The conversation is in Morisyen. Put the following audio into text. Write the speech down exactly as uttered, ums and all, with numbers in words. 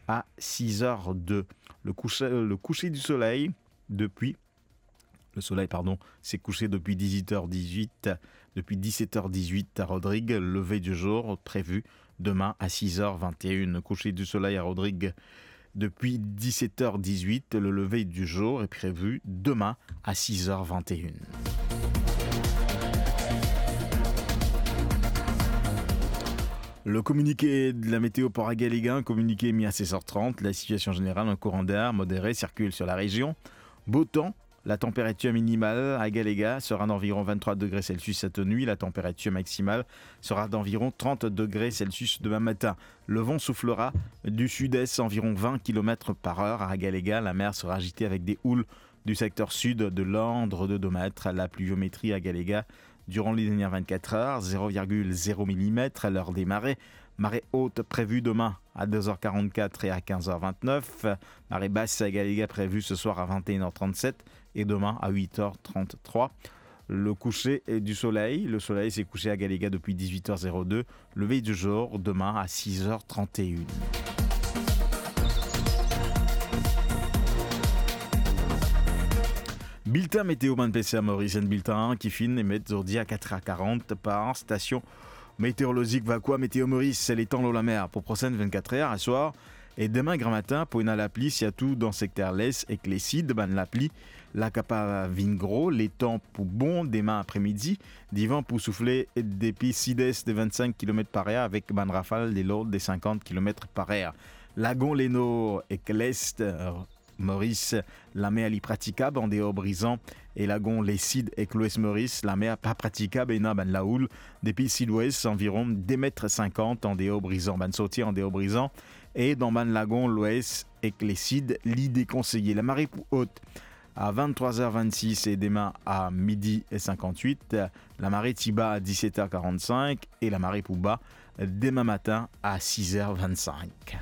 à six heures deux. Le coucher, le coucher du soleil depuis, le soleil, pardon, s'est couché depuis dix-huit heures dix-huit, depuis dix-sept heures dix-huit à Rodrigues. Le lever du jour prévu demain à six heures vingt et une. Coucher du soleil à Rodrigues depuis dix-sept heures dix-huit. Le lever du jour est prévu demain à six heures vingt et une. Le communiqué de la météo pour Agalega, un communiqué mis à seize heures trente. La situation générale, un courant d'air modéré circule sur la région. Beau temps, la température minimale à Agalega sera d'environ vingt-trois degrés Celsius cette nuit. La température maximale sera d'environ trente degrés Celsius demain matin. Le vent soufflera du sud-est, environ vingt kilomètres par heure à Agalega. La mer sera agitée avec des houles du secteur sud de l'ordre de deux mètres. La pluviométrie à Agalega durant les dernières vingt-quatre heures, zéro virgule zéro millimètre à l'heure des marées. Marée haute prévue demain à deux heures quarante-quatre et à quinze heures vingt-neuf. Marée basse à Agalega prévue ce soir à vingt et une heures trente-sept et demain à huit heures trente-trois. Le coucher du soleil. Le soleil s'est couché à Agalega depuis dix-huit heures zéro deux. Lever du jour demain à six heures trente et une. Bilten meteo bann peser Moris, enn bilten ki finn emet zordi a quatre heures quarante par station météorologique Vacoa Météo Maurice. Letan lor lamer pou prosenn vingt-quatre heures, aswar e demin gramatin pou ena lapli, sirtou dan sekter les ek lesid. Bann lapli la kapav vinn gro, letan pou bon demin apremidi. Divan pou soufle depi sid-est de vingt-cinq kilomètres par heure avek bann rafal de lord de cinquante kilomètres par heure. Lagon Lenor ek Lest, euh, Moris, lamer li pratikab andeor Brizan, e lagon Lesid ek Lwes Moris, lamer pa pratikab, ena bann laoul depi sidwes, anviron de met sinkant andeor Brizan. Bann sorti andeor Brizan e dan bann lagon Lwes ek Lesid, li dekonseye. Lamare pou ot a venntrwa er vennsis e demin a midi e sinkant-wit. Lamare ti ba a diset er karant-sink e lamare pou ba demin matin a sis er vennsink.